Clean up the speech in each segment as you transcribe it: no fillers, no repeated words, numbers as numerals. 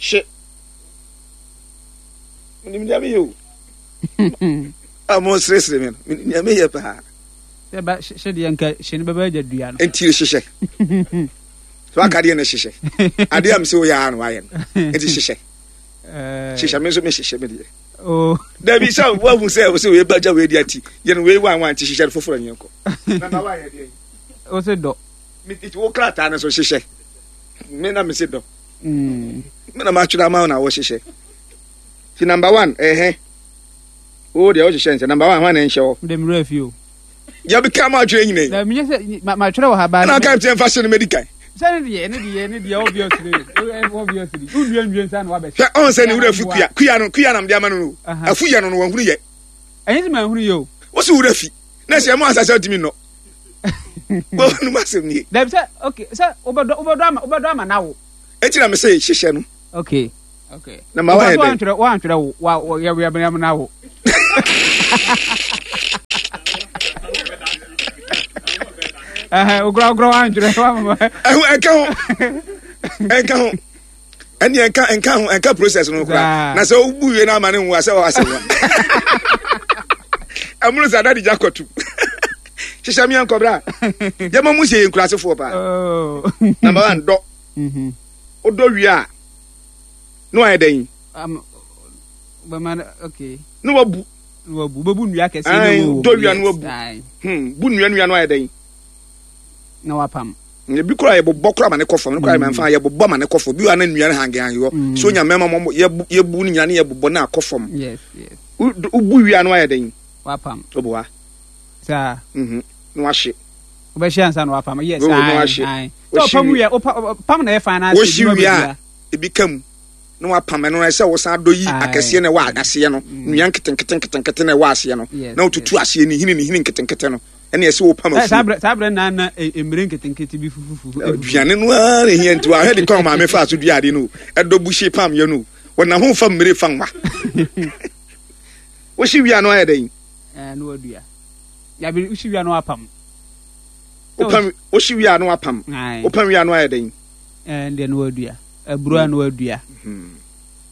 Hye. Menim deɛ meyɛ o. A mo seresere me no, menim deɛ meyɛ paa. Sɛ ba hye deɛ nka hye no bɛbɛ agya dua no. Nti hyehyɛ. So aka deɛ na hyehyɛ. Adeɛ a mesɛ woyɛ ara na wayɛ no. Nti hyehyɛ. Eh. Hyehyɛ me nso mehyehyɛ me deɛ. Oh. Dabi sɛ woahu sɛ wo sɛ wei bagya wei deɛ nti yɛ no wei wan wan nti hyehyɛ no foforɔ nyɛ nkɔ. Nana wayɛ deɛ. Wo se dɔ. Wo krataa no so hyehyɛ. Me na mese dɔ. Mm. Me na matwerɛ ama wo na wohyehyɛ. Ti number one ɛhɛ. Wo deɛ wohyehyɛ nsɛ number one hwan na nhyɛ hɔ. Mede mmerɛ fi o. Yɛ bi ka ma atwerɛ nyina yi. Na menyɛ sɛ matwerɛ wɔ ha baa. Ɛna aka nkyɛn fa hyɛ no mɛdi kan. Sɛ ne deɛ ne deɛ ne deɛ obviously obviously wonua nwie nsa na wabɛhyɛ. Hwɛ ɔn sɛ ne wura fi kuya kuya no kuya nam de ama no no afu yɛ no no wɔnhunu yɛ. Ɛnyɛ sɛ manhunu yɛ o. Wosi wura fi na sɛ ɛmo asase ɔtumi nnɔ. Wɔn mu asɛm nie. Dabi sɛ okay sɛ wobɛdɔ wobɛdɔ ama wobɛdɔ ama na wo. Eti na me se hyehyɛ no. Okay. Okay. Na ma wayɛ dɛ. Wantwerɛ wantwerɛ wo wa wɔ yɛ yɛ yɛ na wo. Ɛhɛn okura okura wantwerɛ wamama. Ɛho ɛka ho ɛnka ho ɛne ɛnka ɛnka ho ɛnka process no koraa na sɛ wobu wie no ama ne nwo a sɛ ɔwɔ asɛm wa ɛmono sɛ adade gya kɔto hyehyɛ meɛ nkɔbra yɛma mu sɛ yɛ nkurasefoɔ paa oh. number one dɔ mm-hmm. wodɔ wie a na wayɛ dɛn na wabu dɔ wia no wabu hmm, bu nnua nnua no ayɛ dɛn na wapam ebi kora yɛbobɔ kora ma ne kɔ fam ne kora mm. mfa yɛbobɔ ma ne kɔ fam bi wa na nnua no hange hange hɔ mm. so nya mmarima mɔ yɛbu ne nyina ne yɛbobɔ na akɔ fam wobu wia no ayɛ dɛn wapam woboa saa mhm. na wahye wobɛhyɛ ansa na wapam yes ae sɛ ɔpam wie pam na ɛyɛ fan na wohye wie a ebi ka mu na wapam ɛno ɛsɛ wosan dɔ yi akɛseɛ na ɛwɔ aseɛ no mm. nnua nketenkete nketenkete na ɛwɔ aseɛ no na wotutu aseɛ ne hini ne hini nketenkete no ɛne ɛsɛ wopam afuo saa berɛ na na mmire nketenkete bi fufufufu aduane no ara na ɛhia nti wahwɛ de kwan maame fa so dua ade no ɛdɔ buhye pam yɛ no wɔnam ho fa mmire fa nwa wohye wia no ayɛ dɛn na wadua yabi wohye wia no apam wopam wohye wia no apam wopam wia no ayɛ dɛn ɛn deɛ no wadua aburo a no wadua hmm.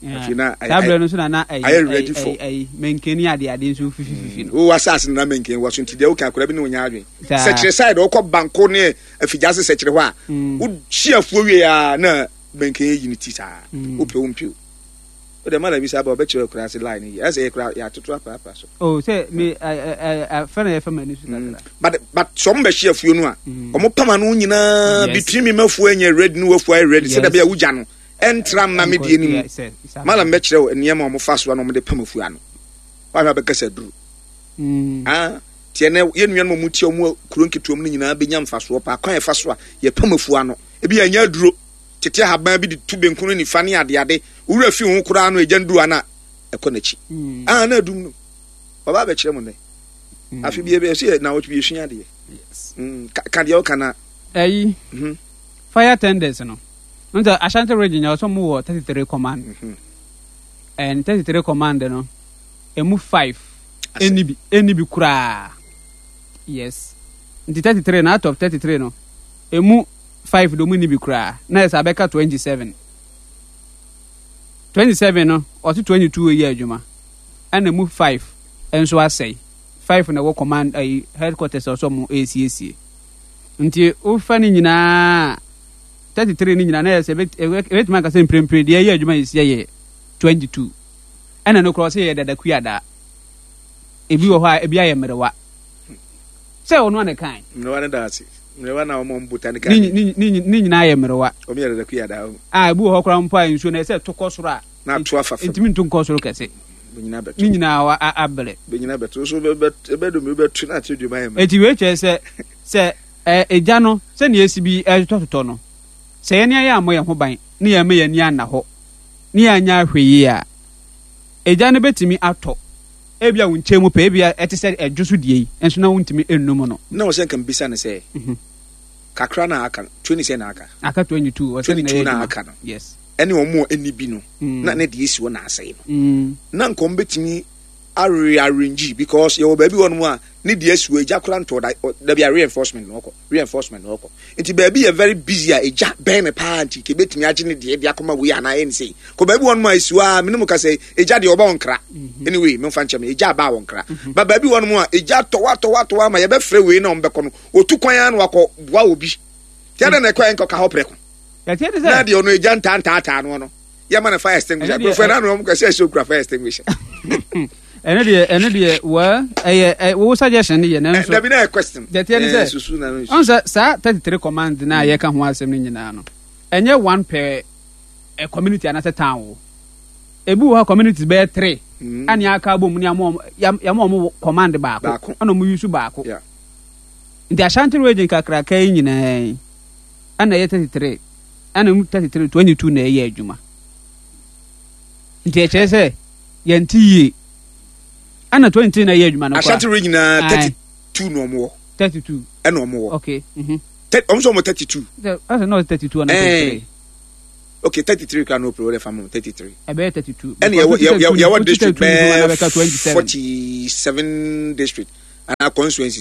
Afei na saa berɛ no nso na na ayɛ ready for ayi mankani ade ade nso fifififi no. Wo asase no na mankan wɔ so nti deɛ woka akwadaa bi ne wonya adwen. Sɛkyerɛ side wokɔ banko ne afigya ase sɛkyerɛ hɔ a mm. wohye afuo wie a na mankan yi ne ti saa mm. wopɛ wo mpɛ o. Wode ma na bi saa ba wɔbɛkyerɛ akura ase line yi ɛsɛ yɛ kura yɛatoto apaapa so. Oh sɛ me afɛ na yɛfɛ m'ani so mm. kakra. But but sɛ ɔmo bɛhye afuo no a ɔmo pam ano nyinaa between me mafuo anyɛ ready ne wafuo ayɛ ready sɛ dabi a wogya no ɛntra mma me deɛ no mu. Malam bɛkyerɛ wo nneɛma a wɔfa so a na wɔde pam afuo ano. Woahwɛ a bɛka sɛ aduru. Mm. Ah, tiɛ nɛ yɛn nuanom a wɔtie wɔn kuro nketewa mu no nyinaa bɛnya mfasoɔ paa kwan a yɛfa so a yɛpam afuo ano. Ebi yɛnyɛ aduro. Tete ahaban bi de tu benku ne nifa ne adeade. Wura fi ho koraa no egya nduru ana ɛkɔ n'akyi. Mm. Ah, na adum no. Ɔba abɛkyerɛ mo nnɛ. Mm. Afe bi ɛsɛ yɛ na wɔtwe bi esua adeɛ. Yes. Mm, ka deɛ ɔka na. Ɛyi. Mm -hmm. Fire tenders no. N sɛ Ashanti region yɛ ɔsɛ ɔmo wɔ 33 command. Mm -hmm. And 33 command no, emu 5 ɛni bi ɛni bi koraa. Yes. Nti 33 no out of 33 no, emu 5 de ɔmo ni bi koraa. Na ɛsɛ abɛka 27. 27 no, ɔse 22 yɛ adwuma. Ɛna emu 5 nso asɛe. 5 na ɛwɔ command ayi headquarters ɔsɛ ɔmo ɛresiesie. Nti wofa ne nyinaa 33 no nyinaa na ɛyɛ sɛ ɛbɛtumi aka sɛ mprempren deɛ ɛyɛ adwuma yɛsi yɛ 22 ɛna no korɔ sɛ yɛ dada kuadaa ebi wɔ hɔ a ebi ayɛ mmerewa sɛ ɔno ana kan mmerewa no da ase mmerewa na wɔn botanical ne nyinaa yɛ mmerewa wɔn yɛ dada kuadaa a ebi wɔ hɔ koraa mpo a nsuo na ɛsɛ to kɔ soro a na ato afa fam ntumi nto nkɔ soro kɛse ne nyinaa abere bɛnyina bɛto so bɛdum bɛto na akyerɛ dwuma yɛ mmerɛ eti wei kyerɛ sɛ sɛ Egya no, sɛnea esi bi retotɔtotɔ no, sɛ yɛn ani ammɔ yɛn ho ban na yɛamma yɛn ani anna hɔ, na yɛanyɛ ahwɛyiye a, egya no betumi atɔ, ebia wo nkyɛn mu pɛ, ebia ɛte sɛ ɛdwo so deɛ yi, nso na wontumi nnum no. Na ɔsɛ nka mebisa no sɛ, kakra no a aka no, 20 sɛn na aka? Aka 22, ɔsɛ na 22 ɛyɛ na adwuma. aka no. Yes. Ɛne wɔn a ɛnni bi no, Mm. na ne deɛ esi hɔ na asɛe no. Mm. Na nka wɔn betumi. Arearrange because yɛwɔ baabi wɔ nom a ne deɛ asi hɔ egya koraa ntɔɔ da dabi a reinforcement na ɔkɔ reinforcement na ɔkɔ nti baabi yɛ very busy a egya bɛn ne paa nti kebetumi agye ne deɛ de akɔma wei anaa ɛne sei kɔ baabi wɔ nom a esi hɔ a mene mu kasa yi egya deɛ ɔba wɔn kra mhm. anyway memfa nkyɛn me egya aba wɔn kra mhm. ba baabi wɔ nom a egya tɔwa tɔwa tɔwa ama yɛbɛfrɛ wei na wɔn bɛkɔ no otu kwan ara na wakɔ boa obi tiɛ dɛ na ɛkɔ yɛn kɔ ka hɔ prɛko na deɛ ɔno egya ntaantaataa no no. Yɛma no fire extinguisher. Aburofo ɛna ano wɔn kɛse ɛsɛ okura fire extinguisher. Ɛno deɛ ɛno deɛ well ɛyɛ ɛ wo suggestion ne yɛ nanso. Dabi na yɛ question. Deɛ teɛ ne sɛ susu na ɔn sɛ saa 33 command na yɛka ho asɛm no nyinaa no ɛnyɛ one per ɛ community anaasɛ town o. Ebi wɔ hɔ communities bɛyɛ three ɛne aka abom ne yɛama wɔn yɛama wɔn command baako ɛna wɔn use baako. Nti Ashanti region kakraka yi nyinaa yi ɛna ɛyɛ 33. Ɛna mu 33 22 na ɛyɛ adwuma. Nti ɛkyerɛ sɛ yɛnte yie. Ɛna 23 na ɛyɛ adwuma no koraa. Ashanti region na 32 na ɔmo wɔ. 32. Ɛna ɔmo wɔ. Okay. Mhm. Ɔmo sɛ ɔmo 32. Ɛsɛ na ɔsɛ 32 ɛna 33. Okay, 33 kura no pere fa mo 33. Ɛbɛyɛ 32. Ɛna yɛwɔ yɛwɔ district bɛɛ 47 district ana constituency.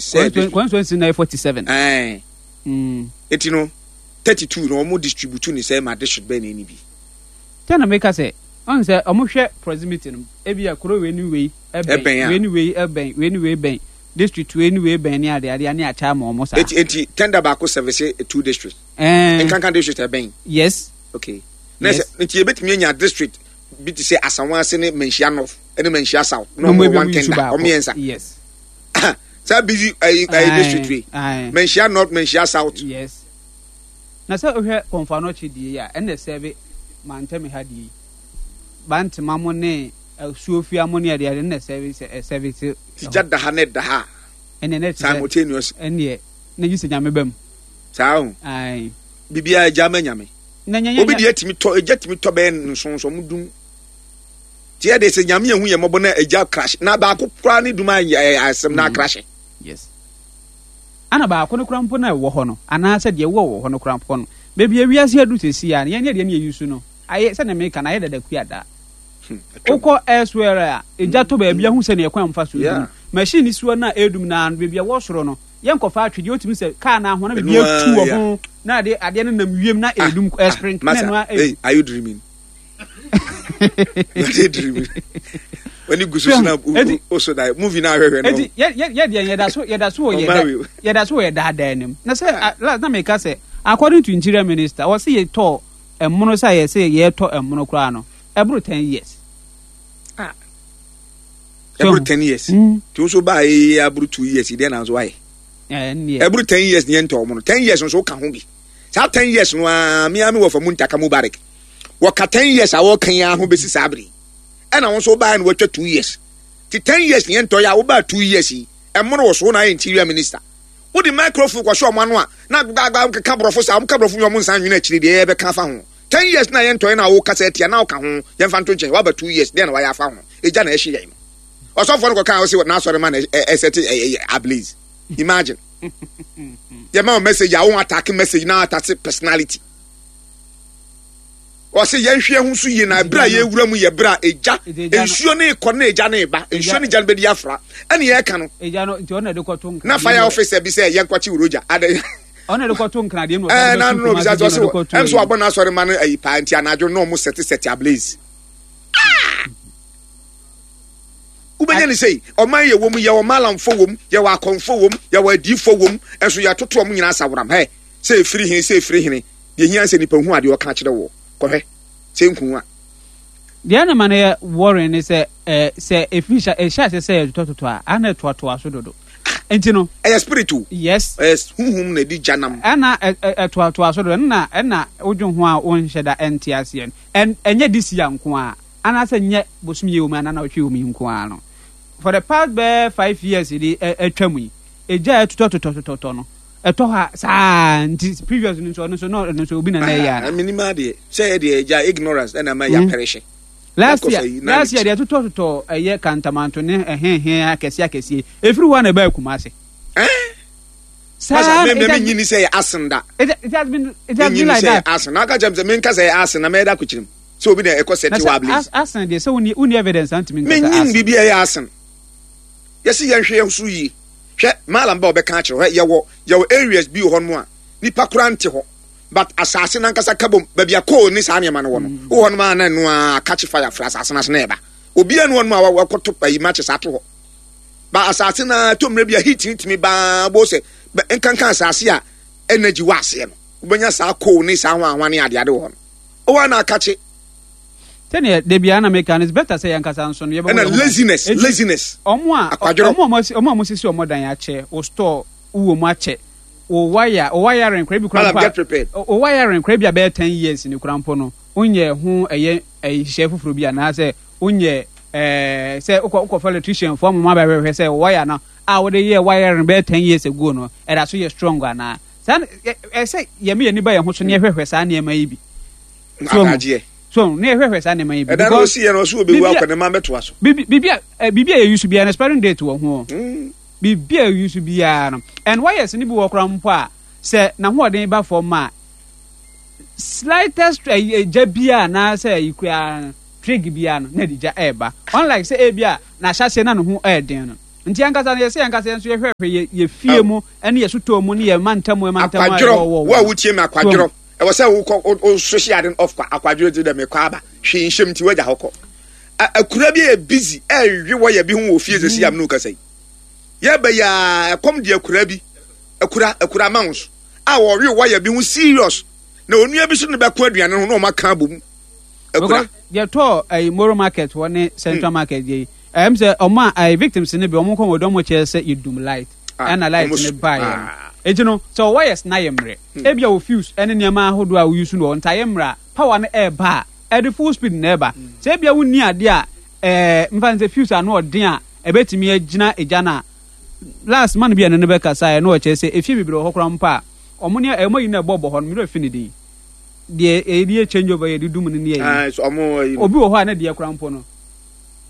Constituency na yɛ 47. Ɛɛ. Eti no. 32 na wɔn distribute ne sɛ ma district bɛn na ɛni bi. Sɛ na meka sɛ ɔn sɛ ɔmo hwɛ proximity no ebi a kuro wei ne wei ɛbɛn wei ne wei ɛbɛn wei ne wei bɛn district wei ne wei bɛn ne ade ade ne akyɛ ama ɔmo saa. Eti eti tender baako service two district. Ɛɛ nkanka district ɛbɛn. Yes. Okay. Na sɛ nti ebetumi anya district bi te sɛ Asawase ne Manhyia North ɛne Manhyia South na ɔmo wɔ one tender ɔmo mmiɛnsa. Yes. Saa busy ɛyi ɛyi district wei. Manhyia North Manhyia South. Yes. Na sɛ wohwɛ Komfo Anokye deɛ yi a, ɛna ɛsɛve mantam ha deɛ yi. Bantama mo ne Asuofia mo ne adeade ɛna ɛsɛve sɛ ɛsɛve se. Ti gya da ha na ɛda ha. Ɛnneɛ na ɛte sɛ. Simultaneous. Ɛnneɛ na gye sɛ Nyame ba mu. Saa o. Ae. Biribiara gya ma Nyame. Na nya nya. Obi deɛ tumi tɔ egya tumi tɔ bɛyɛ nsonso ɔmo dum. Ti yɛ de sɛ Nyame ehu yɛ mmɔbɔ na egya crash na baako koraa ne dum ayɛ asɛm na crash. Yes. Ana baako no koraa mpo na ɛwɔ hɔ no, anaasɛ deɛ ɛwɔ wɔ hɔ no koraa mpo no, baabi a wiase adu seesei ara no, yɛn deɛ ne yɛyi so no, ayɛ sɛdeɛ meka no, ayɛ dada kuadaa. Wokɔ elsewhere a, egya tɔ baabi a, hu sɛdeɛ ɛkwan a wɔfa so dum no. Machine no si hɔ no a ɛredum no ara no, baabi a ɛwɔ soro no, yɛnkɔfa atwedeɛ, wotumi sɛ kaa no ahoa na biribi atu wɔ ho, na adeɛ adeɛ no nam wiem na ɛredum, ɛspring, na ɛno ara. Are you dreaming? Wade dreaming. Wani gu so so na o so da movie na ahwehwɛ no. Eti yɛ yɛ yɛ deɛ yɛda so yɛda so wɔ yɛ yɛda so wɔ yɛ daadaa anim. Na sɛ last na meka sɛ according to interior minister wɔsi yɛ tɔ ɛmono sɛ yɛ sɛ yɛtɔ ɛmono koraa no ɛboro 10 years. Ah. Ɛboro 10 years. Tí o so baa yɛ aboro 2 years deɛ na nso ayɛ. Ɛboro 10 years ni yɛn ntɔ ɔmono 10 years nso ka ho bi. Saa 10 years no aa mi ame wɔ fa mu ntaka Mubarak. Wɔka 10 years a wɔka yi ara ho bɛsi saa bere yi. Ɛna wo nso wobaeɛ na wɔatwa 2 years. Nti 10 years ne yɛntɔ yɛ a wobaa 2 years yi, ɛmono wɔ so wo na ayɛ interior minister. Wode microphone kɔhyɛ wɔn ano a na gbagbagba keka borɔfo saa, wɔka borɔfo wie a wɔn nsan nwene akyire deɛ yɛbɛka afa ho. 10 years na yɛntɔ yɛ na wokasa atia na woka ho, yɛmfa nto nkyɛn, woaba 2 years deɛ na wayɛ afa ho. Egya na ɛhye yɛn no. Ɔsɔfoɔ no kɔkaa ɔse n'asɔre ma na ɛsɛte ablaze. Imagine. Yɛma wo message a wo attack message na attack personality. Ɔse yɛnhwɛ yɛn ho so yie na ɛberɛ a yɛwura mu yɛ berɛ a egya nsuo ne kɔ ne egya ne ba nsuo ne gya no bɛdi afra ɛne yɛka no na fire officer bi sɛ yɛnkɔkye Roger adɛ ɛɛ na no bisa sɛ ɔse ɛm so wabɔ n'asɔre ma no ayi paa nti anadwo na ɔmo sɛte sɛte ablaze. Ah! Wobɛnya ne sei ɔman yɛ wɔ mu yɛwɔ malamfo wɔ mu yɛwɔ akɔmfo wɔ mu yɛwɔ adiifo wɔ mu ɛnso yɛatoto ɔmo nyinaa asaworam hɛ sɛ ɛfiri hene sɛ ɛfiri hene. Deɛ ɛhia ne sɛ nipa hu adeɛ ɔka kyerɛ woɔ. Kɔhwɛ. Sɛ nku a. Deɛ na ɛma no yɛ worrying ne sɛ eh, sɛ ɛfiri hyɛ ɛhyɛ aseɛ sɛ ɛtotɔtotɔ a, a na ɛtoatoa so dodo. Nti no. Ɛyɛ spirit o. Yes. Ɛyɛ honhom na ɛdi gya nam. Ɛna ɛtoatoa so dodo. Ɛna ɛna wodwen ho a wonhyɛ da ɛnte aseɛ no. Ɛn ɛnyɛ this year nko ara. Anaasɛ nyɛ bosome yi wɔ mu anaa nawɔtwe wɔ mu yi nko ara no. For the past bɛyɛ 5 years de atwa mu yi, egya a ɛtotɔtotɔtotɔ no, ɛtɔ hɔ a saa nti previous no nso ɔno nso na ɔno nso obi na na ɛyɛ ana. Menim adeɛ sɛ yɛ deɛ gya ignorance ɛna ama yɛ apɛrehye. Last year deɛ totɔ totɔ ɛyɛ kantamanto ne ɛhɛnhɛn akɛseɛ akɛseɛ efiri hɔ na ɛbaa Kumase. Ɛɛ. Saa na mɛ mi nyini sɛ yɛ asen da. It has been like that. Asen na aka kyerɛ mi sɛ mi nka sɛ yɛ asen na mɛ ɛda akɔkyerɛ mu sɛ obi na ɛkɔ sɛ ti wɔ ablaze. Asen deɛ sɛ wonni evidence antumi nkasa asen. Mi nyin biribi ɛyɛ asen. Yɛsi yɛnhwɛ yɛn so yie. Hwɛ, Mallam ba ɔbɛka akyerɛ wo, hwɛ, yɛwɔ, yɛwɔ areas bi wɔ hɔnom a, nipa koraa nte hɔ, but asase no ankasa ka bom, baabi a coal ne saa nneɛma no wɔ no, mm. wowɔ hɔnom a na ɛno ara catch fire firi asase no ase na ɛba. Obiara ne hɔnom a wakɔto ayi matches ato hɔ. Ba asase no ara, tɔ mmerɛ bi a heat no tumi baa bo sɛ, nkanka asase a energy wɔ aseɛ no, wobɛnya saa coal ne saa hwanhwa ne adeade wɔ hɔ no. Wowɔ a na akakye. Sɛdeɛ da biara na meka no, it's better sɛ yɛn ankasa nso no yɛbɛbɔ Ɛna yɛn ho ban. laziness, Enti laziness, wɔn a akwadworɔ. wɔn a wɔasi wɔn a wɔasisi wɔn dan akyɛ, wo store wowɔ mu akyɛ, wo wire wo wiring koraa ebi koraa Madam, mpo a get prepared. wo wiring koraa ebi a bɛyɛ 10 years ni koraa mpo no, wonyɛ ho ɛyɛ nhyehyɛe foforɔ bi anaasɛ wonyɛ ɛɛ sɛ wokɔ wokɔfa electrician foɔ ama wɔn abɛhwɛhwɛ sɛ wo wire no a wode yɛɛ wiring bɛyɛ 10 years ago no ɛda so yɛ strong anaa. Saa na ɛ ɛsɛ sɛ yɛma yɛn ani ba yɛn ho so na yɛhwɛhwɛ saa nneɛma yi bi. So Adagyeɛ. So ne yɛhwɛhwɛ saa nneɛma yi bi. Ɛda no Because osi yɛ no ɔso obewu biribi a akɔ ne mma bɛtoa so. biribi biribi a eh, biribi a yɛyi so biara no expiring date wɔ ho. Biribi a yɛyi so biara no and wires no bi wɔ koraa mpo a sɛ n'ahoɔden ba fam a slightest eh, eh, gya biara anaasɛ ayi koraa no trig biara no na ɛde gya ɛreba. Unlike sɛ ebi a n'ahyɛaseɛ na ne ho ɛɛden no. Nti yɛn ankasa no yɛsɛ yɛn ankasa yɛn nso yɛhwɛhwɛ yɛ yɛ fie mu ɛne yɛ sotɔɔ mu ne yɛ mantam mantam a Akwadworɔ, ɛwɔ wɔ wo a wɔ. wotie me So akwadworɔ. Ɛwɔ sɛ wokɔ wo switch ade no off kwa akwadworɔ ti dɛ mekɔ aba hwee nhyɛm nti wagya hɔ kɔ. Akura bi yɛ busy ɛrewe wɔyɛ bi ho wɔ fie sɛsi a me ne wo kasa yi. Yɛba yi a ɛkɔm de akura bi akura akura amounts a wɔwe wɔyɛ bi ho serious na onua bi so ne bɛko aduane ho na wɔn aka abom akura. Because yɛtɔɔ ɛyi Moro market hɔ ne Central market yɛ yi ɛyɛm sɛ ɔmo a ɛyi victims ne bi ɔmo nkɔn wɔ dɔm kyerɛ sɛ yɛdum light ɛna light ne ba yɛ no eti no sɛ ɔwɔ yɛ na yɛ mmerɛ. Ebia wo fuse ne nneɛma ahodoɔ a wo use no wɔ ntaeɛ mmerɛ a power no ɛreba a, ɛde full speed na ɛreba. Sɛ ebia wonni adeɛ a ɛɛ mfa no sɛ fuse ano ɔden a ɛbɛtumi agyina egya no a, last man bi a ɛne no bɛkasaeɛ na ɔkyerɛ sɛ efie bebree wɔ hɔ koraa mpo a wɔn ne wɔn ayi no ɛbɔ bɔ hɔ no, me werɛ fi ne din. Deɛ yɛde yɛ change over yɛde dum no ne ayi. So wɔn ayi no. Obi wɔ hɔ a ne deɛ koraa mpo no,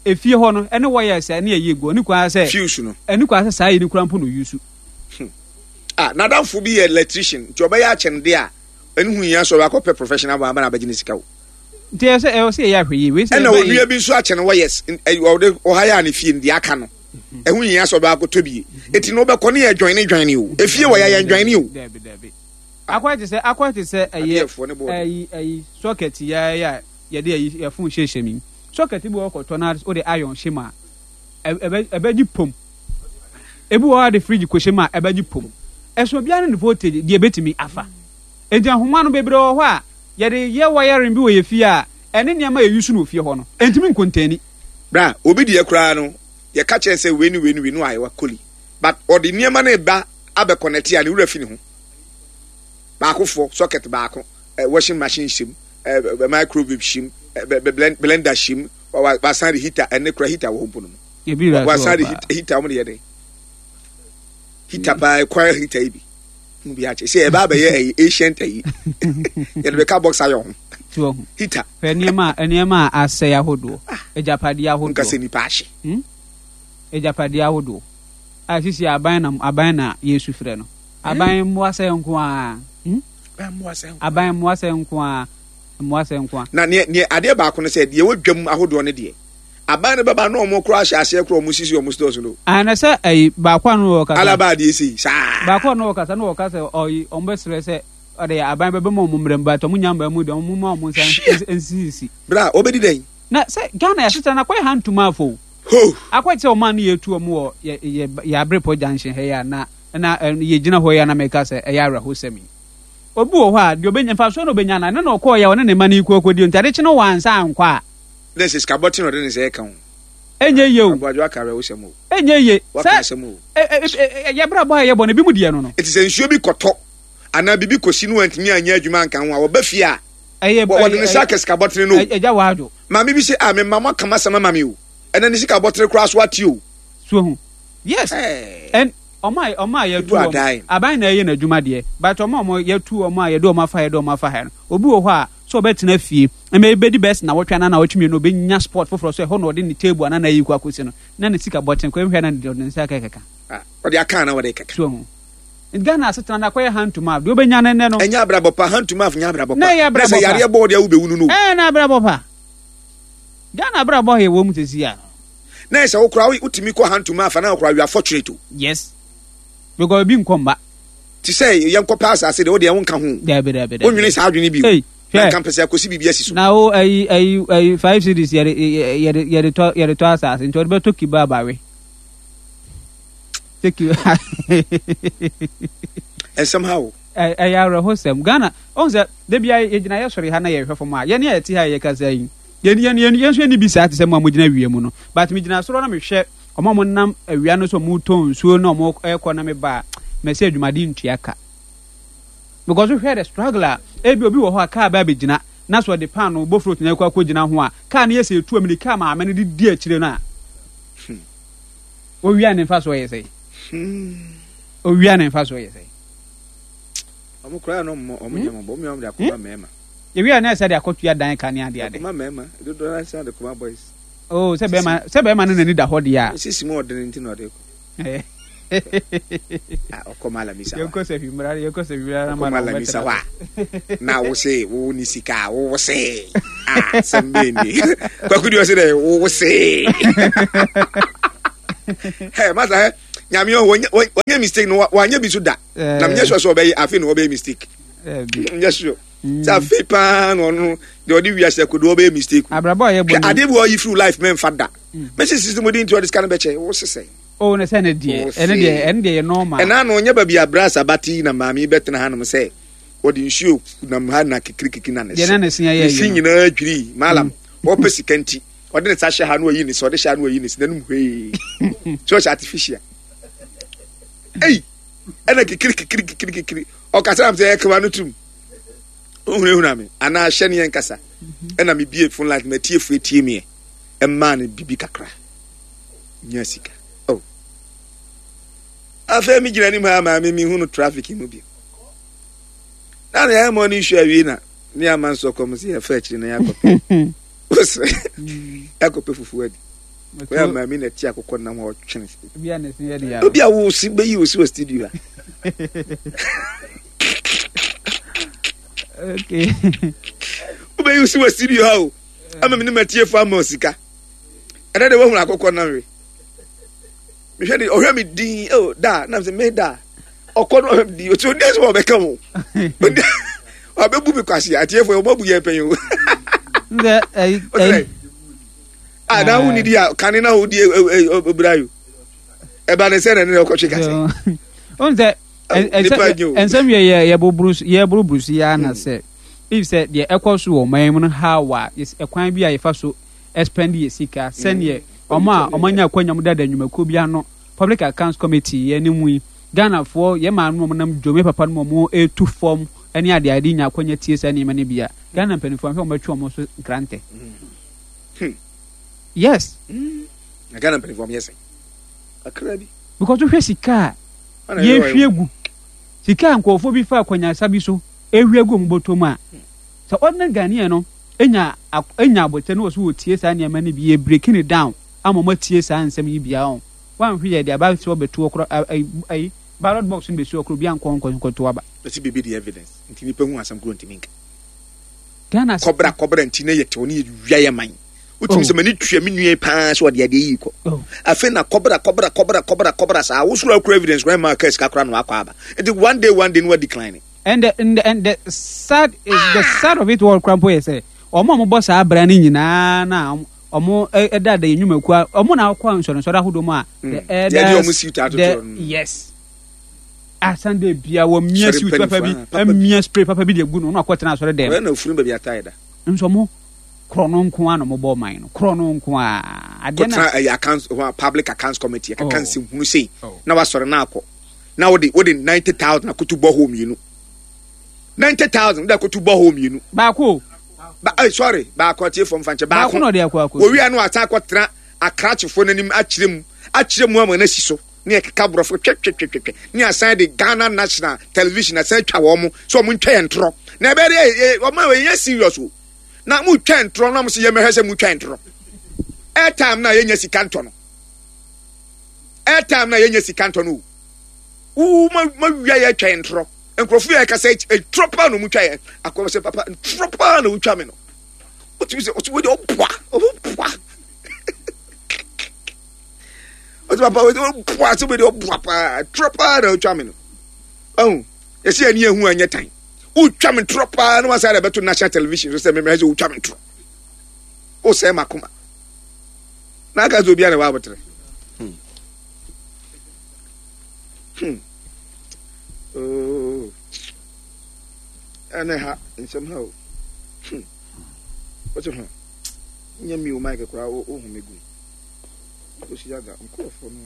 efie hɔ no ɛne wires a ɛne ɛyɛ gu ɛne kwan sɛ fuse no. Ɛne kwan sɛ saa ayi no koraa mpo na ɔuse. Hmm. Ah, n'adamfo bi yɛ electrician, nti ɔbɛyɛ akyɛnde a, ɛno ho hia sɛ ɔbɛakɔ pɛ professional one aba na abɛgye ne sika o. Nti ɛwɔ sɛ ɛwɔ sɛ yɛyɛ ahwɛ yie. Wei sɛ Ɛna ɛbɛ yi. onua bi nso akyɛ no wires, ɔde ɔha yɛ a ne fie no deɛ aka no, ɛho hia sɛ ɔbɛakɔtɔ bi. Eti no wobɛkɔ ne yɛ dwɔne dwɔne o. Efie wɔ yɛ yɛn dwɔne o. Dabi dabi. Akɔyɛ te sɛ akɔyɛ te sɛ ɛyɛ Adeɛfoɔ ne bɔɔde. ɛyi ɛyi socket yɛ yɛ a yɛde ɛyi yɛ phone hyehyɛ mu yi. Socket bi wɔ hɔ kɔtɔ na wode iron hyɛ mu a, ɛbɛ ɛbɛgye pom. Ebi wɔ hɔ a de fridge kɔhyɛ mu a ɛbɛgye pom. Ɛso obiara ne ne voltage deɛ ɛbɛtumi afa. Enti ahoma no bebree wɔ hɔ a yɛde yɛ wiring bi wɔ yɛ fie a ɛne nneɛma a yɛ use no wɔ fie hɔ no ɛntumi nkontɛni. Bra, obi deɛ koraa no yɛka kyerɛ no sɛ wei ne wei ne wei no ayɛ wakoli but ɔde nneɛma no reba abɛ connect a ne werɛ fi ne ho. Baakofoɔ, socket baako, eh, washing machine hyɛ mu, eh, microwave hyɛ mu, eh, blender hyɛ mu, wasan de heater, ɛne kora heater wɔ hɔ mpo no mu. Ebi wura so Wasan de wɔ paa. heater wɔn de yɛ dɛ. Heater paa kwan heater yi bi. Mu bi akyɛ sɛ ɛba abɛyɛ ɛyi ancient ɛyi. Yɛde bɛka box ayɛ ho. So wɔ ho. Heater. Hwɛ nneɛma a nneɛma a asɛe ahodoɔ. Agyapadeɛ ahodoɔ. Nka sɛ nipa ahye. Hmm? Agyapadeɛ ahodoɔ. A sisi aban na aban na yɛsu frɛ no. Aban mmoa sɛ nko ara. Hmm? Aban mmoa sɛ nko ara. Mmoa sɛ nko ara. Na neɛ neɛ adeɛ baako no sɛ deɛ ɛwɔ dwam ahodoɔ no deɛ Aban no bɛba na ɔmo koraa ahyɛ aseɛ koraa ɔmo sisi ɔmo stores no. Ah na sɛ ɛyi baako a no wɔ kasa. Alaba adeɛ sei saa. Baako a no wɔ kasa no wɔ kasa ɔyi ɔmo bɛ srɛ sɛ ɔde aban bɛbɛ ma ɔmo mmerɛ mu but ɔmo nya mmaa mu deɛ ɔmo ma ɔmo nsa nsisi. Bra ɔbɛdi dɛn. Na sɛ Ghana yɛ asetena no akɔyɛ hand to mouth o. Ho. Akɔyɛ te sɛ ɔman no yɛ tu ɔmo wɔ yɛ yɛ yɛ Abrepɔ junction ha yi a na na yɛ gyina hɔ yi a na meka sɛ ɛyɛ awerɛhosɛm yi. Obi wɔ hɔ a deɛ ɔbɛnya mfasoɔ na ɔbɛnya no ɛno na ɔkɔɔ yɛ ɔne ne mma no yi kɔ akɔdi nti ade kye no wansa ankɔ a. Dɛ sɛ sika bɔtsen na ɔde ne nsa reka o. Ɛnyɛ yie o. Aboadwo aka awerɛhosɛm o. Ɛnyɛ yie. Waka Sɛ asɛm o. yɛ abrabɔ a yɛbɔ no ebinom deɛ no no. Enti sɛ nsuo bi kɔtɔ anaa biribi kɔsi na wantumi anyɛ adwuma anka ho a, wɔba fie a, Ɛyɛ wɔde ne nsa aka sika bɔtene no o. Agya Wadwo. Maame bi se, ah, me mma moaka m'asɛm ama me o. Ɛnɛ ne sika bɔtene koraa so ate o. So wahu? Yes. Ɛɛ. And wɔn a wɔn a yɛatu People are wɔn, dying. aban na ɛyɛ n'adwuma deɛ, but wɔn a wɔn yɛatu wɔn a yɛde wɔn afa ha yɛde wɔn afa ha no, obi wɔ hɔ a, sɛ ɔbɛtena fie ma ebedi bɛyɛ sɛ nnawɔtwe anaa nnawɔtwe mmienu, obenya spot foforɔ so ɛhɔ na ɔde ne table anaa n'ayi kɔ akɔsi no, na ne sika bɔten kɔ, ehwɛ na ɔde ne nsa kɛkɛka. Ah, ɔde aka anaa ɔde kɛka? So ahu? Nti Ghana asetena no akɔyɛ hand to mouth, deɛ obenya no nnɛ no. Ɛnyɛ abrabɔ pa, hand to mouth nyɛ abrabɔ pa. Na ɛyɛ Na sɛ abrabɔ pa. yareɛ bɔ wo deɛ wobɛwu no no o. Ɛɛ, na abrabɔ pa. Ghana abrabɔ a yɛwɔ mu sɛsi a. Na ɛsɛ wo koraa wotumi kɔ hantuma afa na koraa you are fortunate o. Yes. Because ebi nkɔ mba. Te sɛ yɛnkɔ pɛ asase deɛ wo deɛ wonka ho. Dabi dabi dabi. Wonwene saa adwene bi o. Na nka mpɛ sɛ akɔsi biribi asi so. Na wo ayi ayi ayi 5 cedis yɛde yɛde yɛde tɔ yɛde tɔ asase nti ɔde bɛtɔ kebab awe. Sɛ kebab. Ɛnsɛm ha o. Ɛyɛ awerɛhosɛm. Ghana, ɔhu sɛ da biara yɛgyina yɛ sɔre ha na yɛhwɛ fam a, yɛne a yɛte ha a yɛkasa yi, yɛn yɛn yɛn yɛn nso yɛnni bi saa te sɛ mo a mogyina awia mu no. But megyina soro na mehwɛ wɔn a wɔnam awia no so wɔretɔn nsuo na wɔrekɔ na meba a, mɛsɛ adwumaden ntua ka. Because wohwɛ the struggle a, ebi obi wɔ hɔ a kaa bɛ abɛgyina na sɛ ɔde paano bofrot na ɛkɔ akɔgyina ho a, kaa no yɛ sɛ ɛtu amirika a maame no de di akyire no a, owia ne mfa so yɛ sɛ. Owia ne mfa so yɛ sɛ. Ɔmo koraa no ɔmo ɔmo nyɛ mɔbɔ ɔmo yɛ ɔmo de akoma mɛɛma. Ewia na ɛsɛ de akɔtua dan ka ne ade ade. Akoma mɛɛma dodoɔ na ɛsɛ de koma boys. Oh sɛ bɛɛma sɛ bɛɛma no n'ani da hɔ deɛ a. Sisi mu ɔdene nti na ɔde kɔ. Ɔkɔ malamisa wa. Yɛnkɔ sɛ hwimra yɛnkɔ sɛ hwimra na ma na ɔbɛtena. Wa na wo se wo ni sika wo se ah sɛm bɛn ni kwaku deɛ ɔse dɛ wo se. Hey masa hɛ nyame ɔwɔ wɔnyɛ mistake no wanyɛ bi so da. Na menyɛ sure sɛ ɔbɛyɛ afei na ɔbɛyɛ mistake. Nyɛ sure. Sɛ afei paa na ɔno deɛ ɔde wiase akodo ɔbɛyɛ mistake. Abrabɔ a yɛbɔ ni. Adeɛ bi ɔyi firi life mɛmfa da. Mɛsi sisi mo di nti ɔde sika no bɛkyɛ wo sesɛ. Oh ne sɛ ne deɛ ɛne deɛ ɛne deɛ yɛ normal. Ɛna no nyɛ baabi a brass abate na maame bɛtena hanom sɛ wɔde nsuo nam ha na kikirikiki na ne se. Deɛ na ne se ayɛ Ne se nyinaa dwirii malam ɔpɛ sika nti ɔde ne nsa hyɛ ha na ɔyi ne se ɔde hyɛ ha na ɔyi ne se n'anum hwee sɛ ɔhyɛ artificial. Ei ɛna kikiri kikiri kikiri kikiri ɔkasa nam sɛ ɛkama no tum ohunahuna me anaa hyɛ ne yɛn kasa ɛna mebie phone line matie fo etie meɛ ɛmaa no bibi kakra nya sika oh afei mi gyina anim ha maame mi hu no traffic mu bi na ne ayɛ mɔ ne nsu awie na ne ama nso kɔm sɛ yɛfa akyiri na yɛakɔpɛ wosɛ yɛakɔpɛ fufuo adi wɔyɛ maame na ti akokɔ nam hɔ ɔtwene obi a wo si bɛyi wo si wɔ studio ha wobɛyi wo si wɔ studio ha o ama me ne matiefo ama sika ɛnɛ de woahunu akokɔ nam we mehwɛ de ɔhwɛ me din o da nam sɛ me da ɔkɔ no ɔhwɛ me din ɔti ɔdi asɛm a ɔbɛka ho ɔbɛbu me kwase atiefo ɔmɔ bu yɛn pɛn o a na wo nidi a kane na wo di obira yo ɛba ne sɛ na ne na ɔkɔtwe kase ɔn sɛ ɛnsɛm yɛ yɛboroboro so yɛ ana sɛ if sɛ deɛ ɛkɔ so wɔ ɔman mu no how a ɛkwan bi a yɛfa so spend yɛ sika sɛdeɛ wɔn a wɔn anya akwanya wɔn dada nnwumakuo bi ano public accounts committee yɛ ne mu yi Ghanafoɔ yɛ maame wɔn nam dwom yɛ papa no mu wɔn etu fam ɛne adeɛ ade nya akwanya tie saa nneɛma no bi a Ghana mpanimfoɔ ahwɛ wɔn bɛtwe wɔn so nkrantɛ yes na Ghana mpanimfoɔ wɔn yɛ sɛ kakra bi because wohwɛ sika a yɛhwie gu sika a nkurɔfoɔ bi fa akwanyasa bi so ehwie gu wɔn bɔtɔ mu a sɛ ordinary Ghanaian no nya nya abotire na wɔso wɔtie saa nneɛma no bi yɛ breaking it down ama wɔn atie saa nsɛm yi bia wɔn wɔanhwɛ yɛ de aba sɛ wɔbɛto ɔkorɔ ayi ballot box no bɛsi ɔkorɔ bi ankɔ nkɔ nkɔto aba. Ɛsi biribi de evidence nti nipa hu asɛm koro ntumi nka. Ghana kɔbra kɔbra nti na yɛ tew ne yɛ wia yɛ man. Wotumi sɛ m'ani tua me nua paa sɛ ɔde adeɛ yi kɔ. Oh. Afei na kɔbra kɔbra kɔbra kɔbra kɔbra saa wosoro akura evidence kora ma aka sika kora na wakɔ aba. Nti one day one day no wa decline. And the, and the, and the sad is the sad of it all kora mpo yɛ sɛ wɔn a wɔbɔ saa abira no nyinaa na wɔn ɛda da yɛn nnwumakuo wɔn na akɔ nsɔrɔnsɔrɔ ahodoɔ mu a the elders the yes a Sunday bia wɔ mia suit papa bi mia spray papa bi de gu no na akɔ tena asɔre dɛm. Wɔyɛ na ofunu baabi atae da. Nso mo korɔ no nko a na mo bɔ ɔman no korɔ no nko a. Adeɛ na kɔtena ɛyɛ accounts public accounts committee ɛkeka oh. nsɛm hunu sei oh. na wasɔre na akɔ. Na wode wode 90,000 akoto bɔhɔ mmienu. 90,000 wode akoto bɔhɔ mmienu. Baako. Ba eh, sorry, baako atie fam fa nkyɛ baako. Baako na ɔde akɔ akɔ. Wɔwia no asan akɔtena akrakyefoɔ n'anim akyerɛ mu akyerɛ mu ama no asi so ne ɛkeka borɔfo twɛtwɛtwɛtwɛ ne asan de Ghana National Television asan atwa wɔn mo sɛ wɔn ntwa yɛn ntorɔ na ɛbɛyɛ dɛ wɔn a wɔyɛ serious o na mo twa ntorɔ na mo sɛ yɛmɛhwɛ sɛ mo twa ntorɔ airtime na yɛnya sika ntɔ no airtime na yɛnya sika ntɔ no o wo ma ma wia yɛ twa yɛn ntorɔ nkurɔfo yɛ kasa ntorɔ paa na ɔmo twa yɛn akɔm sɛ papa ntorɔ paa na wotwa me no wotumi sɛ ɔsɛ wode ɔboa ɔboa. Ɔsɛ papa ɔboa sɛ bɛde ɔboa paa torɔ paa na ɔtwa me no. Ɔhu yɛsɛ yɛne yɛhu anyɛ tan. Wotwa me torɔ paa na wasan de bɛto national television so sɛ memmerɛ sɛ wotwa me torɔ. Wosɛe m'akoma. Na aka sɛ obiara na ɛwɔ abotere. Oh. Ɛne ha nsɛm ha o. Wote ho. Nyɛ mi o mic koraa wo ho me gu. Osi aga nkurɔfoɔ no.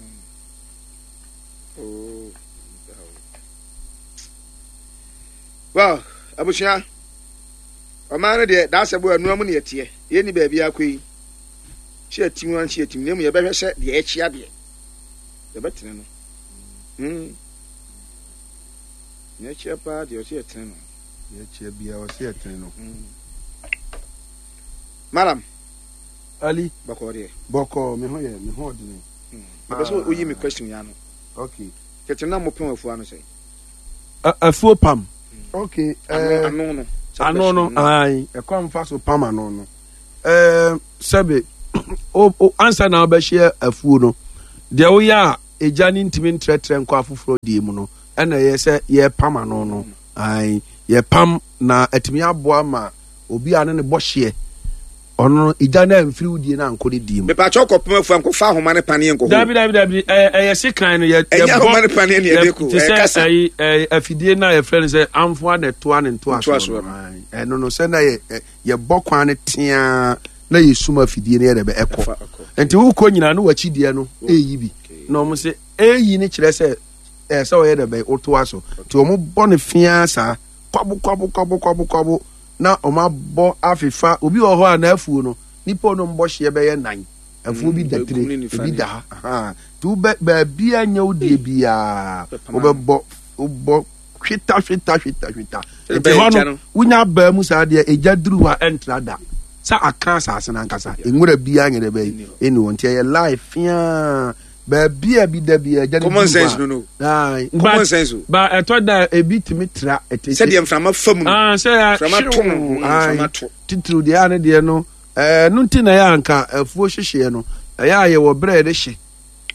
Oh. Well, abusua. Ɔman no deɛ daasɛ bo ɛnoa mu ne yɛteɛ. Yɛnni baabi akɔ yi. Hyɛ atim anhyɛ atim na emu yɛbɛhwɛ sɛ deɛ ɛkyea deɛ. Yɛbɛtene no. Nea ɛkyea paa deɛ ɔsɛ yɛtene no. Nea ɛkyea biara ɔsɛ yɛtene no. Malam. Ali. Bɔkɔɔ deɛ. Bɔkɔɔ, me ho yɛ, me ho ɔdene. Mepɛ sɛ oyi me question yi ano. Okay. Tete na mopem afuo ano sɛn? Afuo pam. Okay. Ano no. Ano no, ayi, ɛkwan fa so pam ano no. Sɛbe, ansa na wobɛhyɛ afuo no, deɛ woyɛ a egya no ntumi ntrɛtrɛ nkɔ afoforɔ deɛ mu no, ɛna ɛyɛ sɛ yɛpam ano no. Ayi, yɛpam na atumi aboa ma obi a ne ne bɔ hyeɛ ɔno no egya no amfiri wo die no ankɔ ne die mu. Mepatwa kɔ pam afuo ankɔfa ahoma ne paneɛ nkɔ hɔ. Dabi dabi dabi ɛyɛ ɛyɛ sekan no yɛ yɛ bɔ ahoma ne paneɛ ne yɛde ko ɛyɛ kasa. Ɛyi ɛyɛ afidie no a yɛfrɛ no sɛ amfoa na ɛtoa ne ntoasoɔ no ɛno no sɛ na yɛ yɛbɔ kwan no teaa na yɛsum afidie no yɛ dɛ bɛ ɛkɔ nti wokɔ nyinaa no wakyi deɛ no ɛyi bi na wɔn sɛ ɛyi no kyerɛ sɛ ɛyɛ sɛ ɔyɛ dɛ bɛ wotoa so nti wɔn bɔ no fiaa saa kwabo kwabo kwabo kwabo kwabo na wɔn abɔ afefa obi wɔ hɔ a n'afuo no nipa ɔno mbɔ hyeɛ bɛyɛ nan afuo bi da tire ebi da ha nti wobɛ baabi a nyɛ wo deɛ biara wobɛbɔ wobɔ hweta hweta hweta hweta nti hɔ no wonya abaa mu saa deɛ egya duru hɔ a ɛntra da sɛ aka asase no ankasa nwura biara nyɛ dɛ bɛyi ɛni hɔ nti ɛyɛ life fiaa baabi a bi da bi a ɛgya no common sense no no common sense o ba ɛtɔ da ebi tumi tra ɛte sɛdeɛ mframa fa mu no ah, sɛ mframa to no mm, mframa to titiriw deɛ a ne deɛ no ɛɛ no nti na ɛyɛ anka afuo hyehyeɛ no ɛyɛ a yɛwɔ berɛ yɛde hye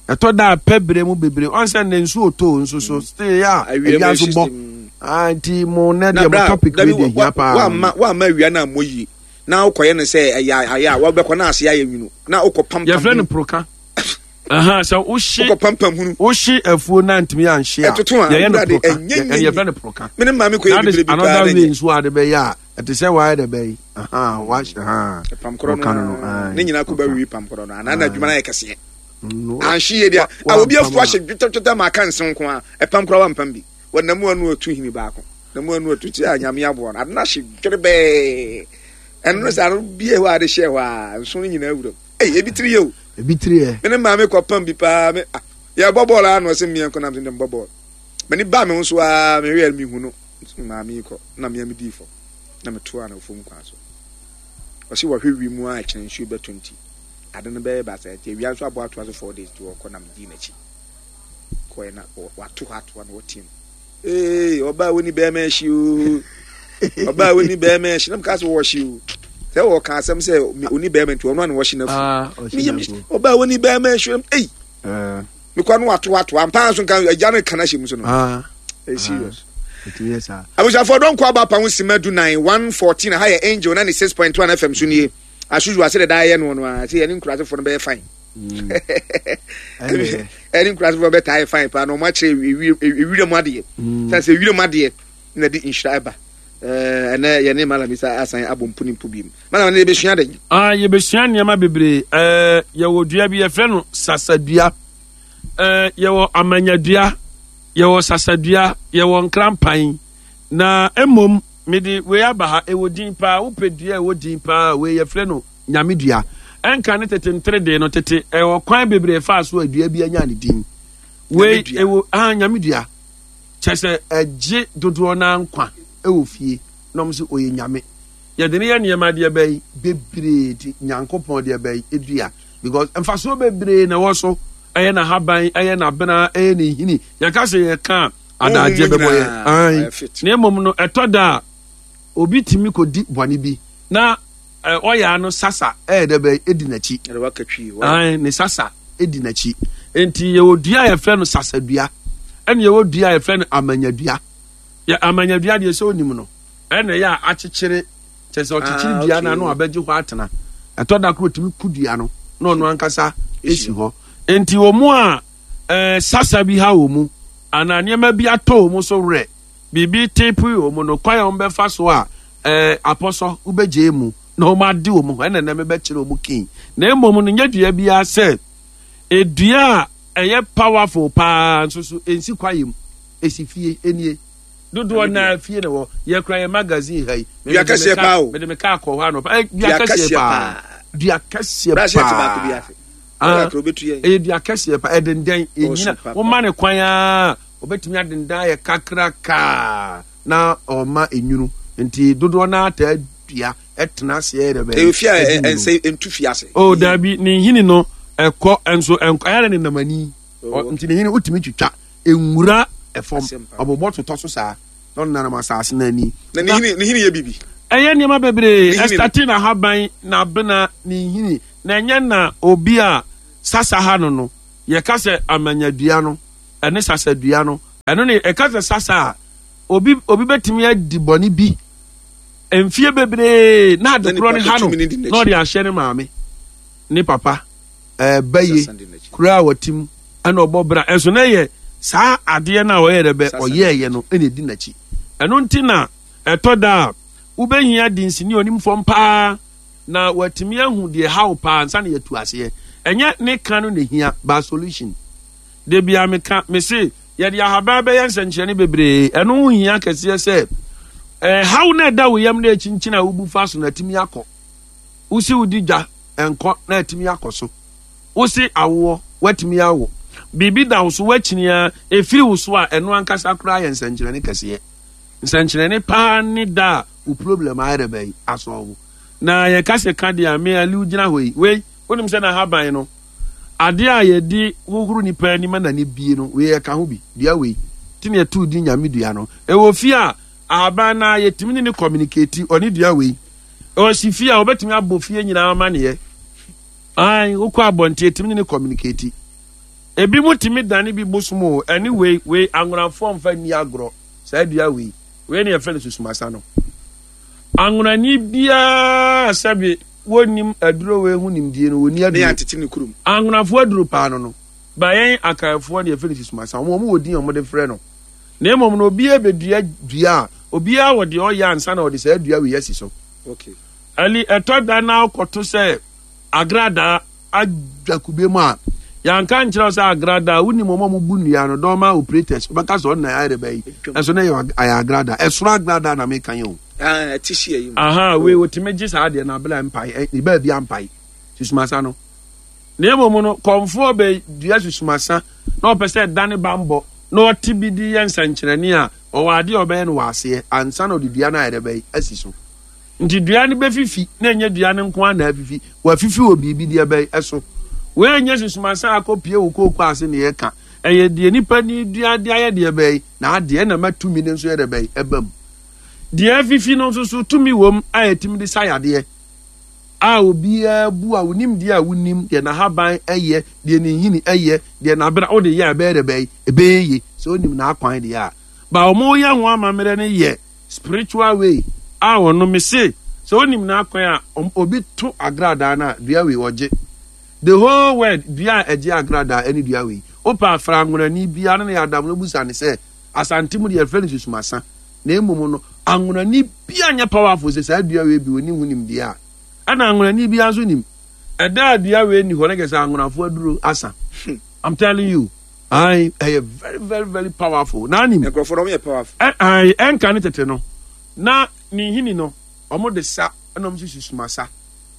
ɛtɔ da pɛ berɛ mu bebree ɔn sɛ ne nsuo too nso so mm. still yɛ a awia nso bɔ ah, nti mo nɛ deɛ mo topic wei deɛ hia paa wamma wamma awia no ammɔ yie na wokɔyɛ no sɛ ɛyɛ ayɛ a wobɛkɔ na ase ayɛ nwunu na wokɔ pam yɛfrɛ no proka sɛ wohye wokɔ pampam hunu wohye afuo na ntumi anhye a ɛtoto a yɛyɛ no wurade proka ɛnyɛ yɛ yɛfrɛ no proka me ne maame kɔ yɛ bibire bi paa another na way ɛnyɛ nso ade bɛyɛ a ɛte sɛ wayɛ dɛ bɛyi wahyɛ ha pam korɔ no ɔka no no ara ne nyinaa kɔ ba wiwi pam korɔ no anaa na adwuma no ayɛ kɛseɛ Mm, anhye yie deɛ wa- a obi wampam afuo a. ahyɛ dwetɛdwetɛ ma aka nse nko a ɛpam koraa wampam bi wɔnam mu anu atu hini baako na mu anu atu ti a nyame aboa no ade no ahye dwerebɛɛ ɛno no sɛ ano bie hɔ a ade hyɛ hɔ a nso no nyinaa wuram Ei, ebi tiri yɛ o. Ebi tiri yɛ. Me ne maame kɔ pam bi paa me ah yɛbɔ bɔɔl a na ɔsɛ mmea nkɔ nam sɛ mbɔ bɔɔl. M'ani baa me ho so aa me hwɛ me hu no maame yi kɔ na mmea me dii fam na me toa no fam kwan so. Ɔsɛ wɔhwɛ wi mu a ɛkyerɛ nsuo bɛtɔ nti ade no bɛyɛ baasa nti awia nso abɔ atoa so 4 days nti wɔkɔ na me dii n'akyi kɔɛ na wato hɔ atoa na wɔteam. Ee, ɔbaa wo ni bɛrima ahyi o. Ɔbaa wo ni bɛrima ahyi. Na meka sɛ wɔhye o. Sɛ wɔka asɛm sɛ oni bɛrima nti ɔno ana wɔhye n'afu. Ah, ɔbaa wo ni bɛrima ahyi. Ei. Eh. Mekɔ no wato ato ampa nso nka agya no ka no ahyɛ mu so no. Ah. Ɛyɛ serious. Abusuafoɔ dɔnkɔ aba pa ho sima du nan 114 ha yɛ Angel 96.1 FM so nie. Asuzu ase deda yɛ no no a sɛ yɛne nkurasefoɔ no bɛyɛ fine. Ɛne nkurasefoɔ bɛtaa yɛ fine paa na wɔn akyerɛ ewira mu adeɛ. Sɛ sɛ ewira mu adeɛ na de nhyira ɛba. Ɛnɛ yɛne Malam Isa asan abɔ mpo ne mpo bi mu. Malam ne yɛbɛsua dɛn? Ah, yɛbɛsua nneɛma bebree. Ɛɛ yɛwɔ dua bi yɛfrɛ no sasadua. Ɛɛ yɛwɔ amanyadua, yɛwɔ sasadua, yɛwɔ nkrampan. Na mmom Mede wei aba ha, ɛwɔ din paa, wopɛ dua a ɛwɔ din paa a, wei yɛfrɛ no Nyame dua. Ɛnka ne tete nteredee no, tete ɛwɔ kwan bebree ɛfaa so a dua bi anya ne din. Wei ɛwɔ, ah, Nyame dua. Kyɛ sɛ ɛgye dodoɔ no ara nkwa ɛwɔ fie, na wɔn sɛ ɔyɛ Nyame. Yɛde no yɛ nneɛma deɛ bɛyi bebree ti Nyankopɔn deɛ bɛyi dua because mfasoɔ bebree na ɛwɔ so. Ɛyɛ n'ahaban, ɛyɛ n'abena, ɛyɛ ne nhini. Yɛka sɛ yɛka a, adagyeɛ bɛbɔ yɛ ae na mmom no ɛtɔ da a obi tumi kɔdi bɔne bi na ɔyɛ ano sasa ɛyɛ dɛ bɛyɛ ɛdi n'akyi ae ne sasa ɛdi n'akyi. Enti yɛwɔ dua a yɛfrɛ no sasadua, ɛna yɛwɔ dua a yɛfrɛ no amanyadua. Yɛ amanyadua deɛ sɛ onim no, ɛna ɛyɛ a akyekyere, kyɛ sɛ ɔkyekyere ah, dua no ano abɛgye hɔ atena. Ɛtɔ da koro otumi ku dua no na ɔno ankasa esi hɔ. Enti wɔn a ɛɛ sasa bi ha wɔn mu anaa nneɛma bi atɔ wɔn so werɛ, biribi tepe wɔn no, kwan a wɔbɛfa so a ɛɛ apɔsɔ wobɛgye mu na wɔn ade wɔn ho ɛna ɛnɛ mebɛkyerɛ wɔn kin. Na mmom no nyɛ dua biara sɛ Edua a ɛyɛ powerful paa nso so ensi kwaeɛ mu, esi fie. Enie. Dodoɔ naa fie na wɔ. Yɛkura yɛn magazine ha yi. Dua kɛseɛ paa o. Mede me kaa kɔ hɔ anɔpa. Ɛ dua kɛseɛ paa. Dua kɛseɛ paa. Ah, ɛyɛ dua kɛseɛ paa. Ɛdendɛn, enyina. Woma ne kwan aa, obetumi adendan ayɛ kakrakaa na ɔma enwunu. Nti dodoɔ naa taa dua. ɛtena ase ɛyɛ dɛ bɛyɛ. Ɛyɛ fie a ɛnsɛ ntu fie ase. O oh, dabi ne nhini no ɛkɔ nso ɛnkɔ ɛyɛ ne nam ani oh, nti ne nhini wotumi twitwa nwura ɛfam ɔbobɔ totɔ so saa na ɔno nanam asase no ani. Na ne nhini ne nhini yɛ bibi. Ɛyɛ nneɛma bebree ɛstate na haban na abena ne nhini na ɛnyɛ na obi a sasa ha no no yɛka sɛ amanyadua no ɛne sasadua no ɛno ne ɛka sɛ sasa a obi obi bɛtumi adi bɔne bi. Mfie bebree na ade korɔ no ha no na ɔde ahyɛ ne maame ne papa ɛɛ baye kura a wɔte mu ɛna ɔbɔ bra ɛnso na ɛyɛ saa adeɛ no a ɔyɛ dɛ bɛ ɔyɛɛyɛ no ɛna ɛdi n'akyi ɛno nti na ɛtɔ da a wobɛhia dinsini onim fam paa na watumi ahu deɛ haw paa nsa na yɛtu aseɛ ɛnyɛ ne ka no na hia ba solution de bia meka mese Yɛde ahaban bɛyɛ nsɛnkyerɛnne bebree. Ɛno ho hia kɛseɛ sɛ ɛhaw no ɛda wo yam na ɛkyinkyin a wobu fa so na atumi akɔ. Wosi wodi dwa ɛnkɔ na atumi akɔ so. Wosi awoɔ woatumi awo. Biribi da wo so woakyini a ɛfiri wo so a ɛno ankasa koraa yɛ nsɛnkyerɛnne kɛseɛ. Nsɛnkyerɛnne paa ne da a wo problem ayɛ dɛ bɛyi asɔɔbo. Na yɛka sɛ ka deɛ a me Aliu gyina hɔ yi wei wonim sɛ n'ahaban no Adeɛ a yɛde hohoro nipa ani ma n'ani bie no, wei ɛka ho bi. Dua wei nti na yɛtoo din Nyame dua no. Ɛwɔ fie a, ahaban no ara yɛtumi ne no communicate, ɔne dua wei. Ɔsi fie a, ɔbɛtumi abɔ fie nyinaa amaneɛ. Ae, wokɔ abɔnten yɛtumi ne no communicate. Ebi mo tumi dane bi bosom o, ɛne wei, wei anwonafoɔ mfa nni agorɔ. Saa dua wei, wei na yɛfrɛ no susumasa no. Anwonani biara sɛbe Wɔnnim aduro wei ho nimdie no, wɔnni aduro. Ne yɛantete ne kurom. Anwonafoɔ aduro paa no no, ba yɛn Akanfoɔ no yɛfrɛ no susumasa. Wɔn wɔn wɔ din a wɔde frɛ no. Na mmom no obiara bɛdua dua a, obiara wɔ deɛ ɔyɛ ansa na ɔde saa dua wei asi so. Okay. Ali, ɛtɔ da na wokɔto sɛ agradaa adwa kube mu a, yɛanka nkyerɛ wo sɛ agradaa, wonim wɔn a wɔbu nnua no, dɔma operators, wobɛka sɛ ɔno na ayɛ dɛ bɛyi. Ɛso na ɛyɛ agradaa. Ɛsoro agradaa na meka yɛ o. Ah, ɛte si ayi mu. Aha, wei wotumi gye saa deɛ na abela mpae, ɛ, ne baabi ampae. Susumasa no. Na mmom no, kɔmfoɔ bɛ dua susumasa na ɔpɛ sɛ ɛda ne bambɔ na ɔte bi de yɛ nsɛnkyerɛnne a, ɔwɔ adeɛ a ɔbɛyɛ no wɔ aseɛ ansa na ɔde dua no ayɛ dɛ bɛyi asi so. Nti dua no bɛfifi na ɛnyɛ dua no nko ara na afifi, wafifi wɔ biribi deɛ bɛyi ɛso. Wei nyɛ susumasa akɔpie wo kooko ase na yɛka, ɛyɛ deɛ nipa ni dua de ayɛ deɛ bɛyi na adeɛ na ma tumi no nso yɛ dɛ bɛyi ɛba mu. Deɛ afifi no nso so tumi wom a ɛtumi de sa yadeɛ a obiara bu a wonim deɛ a wonim deɛ n'ahaban yɛ, deɛ ne nhini yɛ, deɛ n'abena wode yɛ a ɛbɛyɛ dɛ bɛyɛ ɛbɛyɛ yie sɛ wonim n'akwan deɛ a ba wɔn yɛ ho amammerɛ no yɛ spiritual way a wɔn me se sɛ wonim n'akwan a obi to agradaa no a dua wei ɔgye the whole world dua a ɛgye agradaa ɛne dua wei wopɛ afra anwonani biara ne yɛ adam no busa ne sɛ Asante mu deɛ yɛfrɛ no susumasa na mmom no anwonani bia nyɛ powerful sɛ saa dua wei bi ɔnim ho nimdeɛ a ɛna anwonani bia nso nim ɛda a dua wei ni hɔ no kɛ sɛ anwonafoɔ aduro asa I'm telling you ayi ɛyɛ very very very powerful na anim nkurɔfoɔ no yɛ powerful ayi ɛnka ne tete no na ne nhini no wɔn de sa ɛna wɔn nso susumasa